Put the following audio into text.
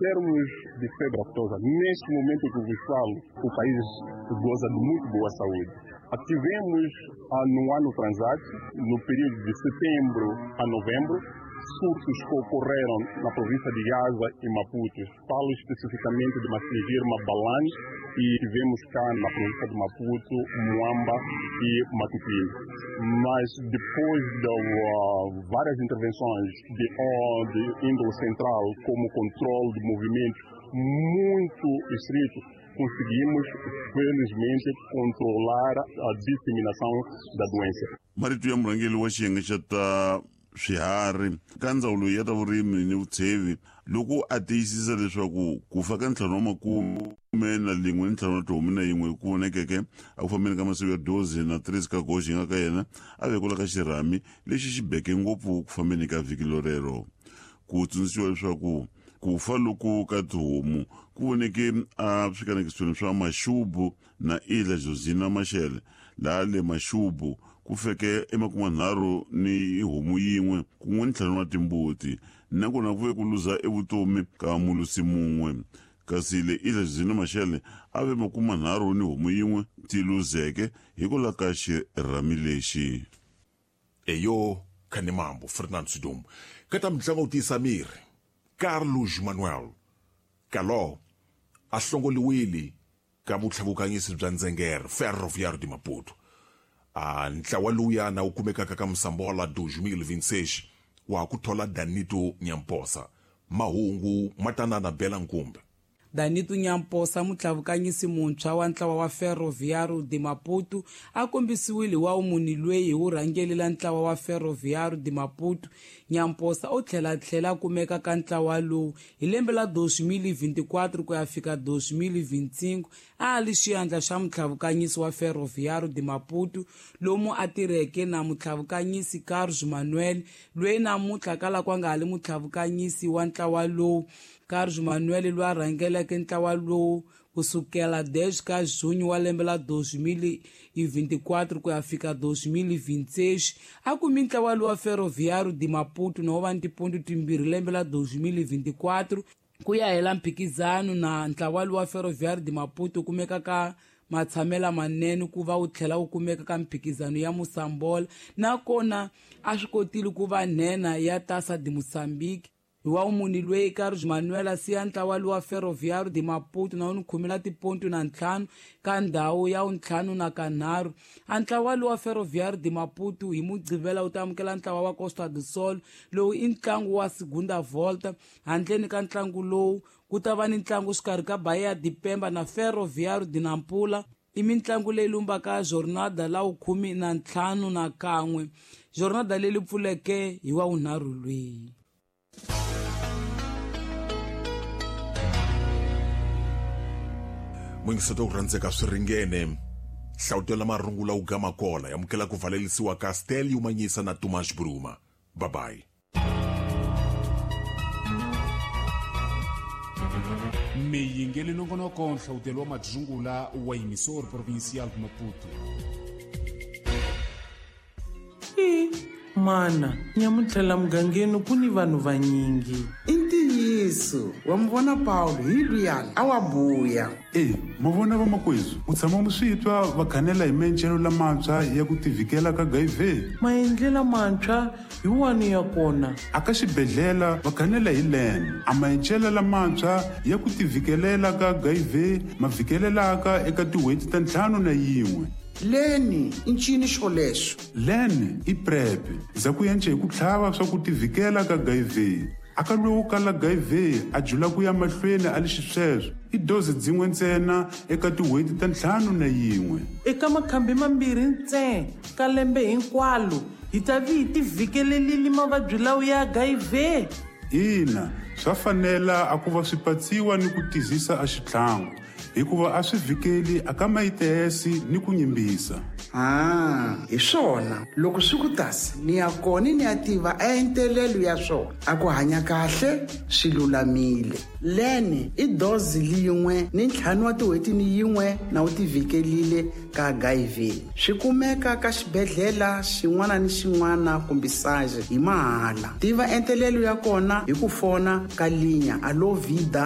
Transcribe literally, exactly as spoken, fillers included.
termos de febre aftosa, neste momento que vos falo, o país goza de muito boa saúde. Tivemos no ano transato, no período de setembro a novembro, surtos que ocorreram na província de Gaza e Maputo. Falo especificamente de Massingir, Mabalane, e tivemos cá na província de Maputo, Moamba e Matutuine. Mas depois de uh, várias intervenções de, de índole central, como controle de movimentos muito estrito, conseguimos, felizmente, controlar a disseminação da doença. Marito ya murhangeri wa xiyenge xa ta swiharhi ka ndzawulo ya ta vurimi ni vutshevi loko a tiyisisa leswaku ku fa ka ntlhanu wa makume na lin'we ni ntlhanu wa tihomu na yin'we ku vonekeke a ku fambeni ka masiku ya doze na treze ka goxi nga ka yena a vekula ka xirhami lexi xi beke ngopfu ku fambeni ka vhiki lorero. Ku tsundzuxiwa leswaku ku fa loku ka tihomu ku voneke a swikanekisweni swa Maxubu na Ilha Josina Machel, laha le Maxubu ku feke emakumenharhu ni homu yin'we kun'we ni ntlhanu wa timbuti, nakona ku ve ku luza evutomi ka mulusi mun'we. Kasi le Ilha Josina Machel a ve makumenharhu ni homu yin'we ti luzeke hikwalaho ka xirhami lexi. Eyo Khanemambo Fernando Sidom ka ta mitlangu wu tiyisa miri Carlos Manuel Caló a hlongoliwile ka vutlhavukanyisi bya Ndzengere Ferroviário de Maputo. A ntlawa lowuyana wu kumekaka ka Msambola dois mil e vinte e seis wa ku thola Danito Nyamposa. Mahungu matanana Bela Nkumbe. Danito Nyamposa, mutlhavukanyisi muntshwa wa ntlawa wa Ferroviário de Maputo, a kombisiwile wa munhu loyi hi wu rhangelela ntlawa wa Ferroviário de Maputo. Nyamposa u tlhela tlhela a kumeka ka ntlawa lowu hi lembe la dois mil e vinte e quatro ku ya fika dois mil e vinte e cinco, a li xiyandla xa mutlhavukanyisi wa Ferroviário de Maputo, lomu a tirheke na mutlhavukanyisi Carlos Manuel, loyi namuntlha kala ku nga ha li mutlhavukanyisi wa ntlawa lowu. Carlos Manuel loyi a rhangeleke ntlawa lowu kusukela dez ka junho wa lembe la dois mil e vinte e quatro ku ya fika dois mil e vinte e seis, a kumi ntlawa lowu wa Ferroviário de Maputo na wa tiponto timbirhi lembe la dois mil e vinte e quatro ku ya hela mphikizano na ntlawa lowu wa Ferroviário de Maputo kumeka ka matshamela manene ku va wu tlhela wu kumeka ka mphikizano ya Mosambola, nakona a swi kotile ku va nhenha ya Taça de Moçambique. Hi wa munhu loyi Carlos Manuel a siya ntlawa lowa Ferroviário de Maputo na wu ni khumela tiponto na ntlhanu ka ndhawu ya wuntlhanu na kanharhu. A ntlawa lowa Ferroviário de Maputo hi Mugqivela wu ta amukela ntlawa wa Costa do Sol, lowu i ntlangu wa segunda volta. Handleni ka ntlangu lowu ku ta va ni ntlangu xikarhi ka Bahia de Pemba na Ferroviário de Nampula. I mintlangu leyi lumbaka jornada la wukhume na ntlhanu na kan'we, jornada leyi pfuleke hi wa wunharhu lweyi. Mwingiseto ku rhandzeka swi ringene hlawutela marungula wu gama kola yamukela ku valelisiwa ka Stelio Manyisa na Tomas Bruma. Bye bye. Miyingeli nongonoko nhlawutelo wa madzungula wa emissor provincial de Maputo. I mana nyamuntlha mugangeni ku ni vanhu vanyingi. I ntiyiso wa mi vona Paulo hi luyani a wa buya. E mo vona vamakwezu u tshama mu swi twa va khanela hi maendlelo lamantshwa ya ku tivikela ka H I V. Maendlelo mantshwa hi wani ya kona? A ka xibedhlele va khanela hi len. A maendlelo lamantshwa ya ku tivikelela ka H I V ma vhikelelaka eka tin'hweti ta ntlhanu na yin'we. Leni i ncini xolexo? Len i PrEP za ku yence hi ku tlhava swa ku tivikela ka H I V. A ka lowu kala H I V a jula ku ya mahlweni a li xisweswo i dozi dzin'we ntsena eka tin'hweti ta ntlhanu na yin'we. Eka makhambi mambirhi ntsena ka lembe hinkwalo hi ta vi hi tivhikelelile mavabyi lawa ya H I V. Ina, swa fanela a ku va swi patsiwa ni ku tizisa a xitlhangu hikuva a swi vhikeli a ka mayitesi ni ku nyimbisa. Ah, hi swona loko swi ku tasi ni ya kona ni ya tiva entelelo ya swona a ku hanya kahle swi lulamile. Leni i dozi lin'we ni ntlhanu wa tin'hweti ni yin'we na wu tivhikelile ka H I V. Swi kumeka ka xibedhlele xin'wana ni xin'wana kumbe saje hi mahala. Tiva entelelo ya kona hi ku fona ka linya Alo Vida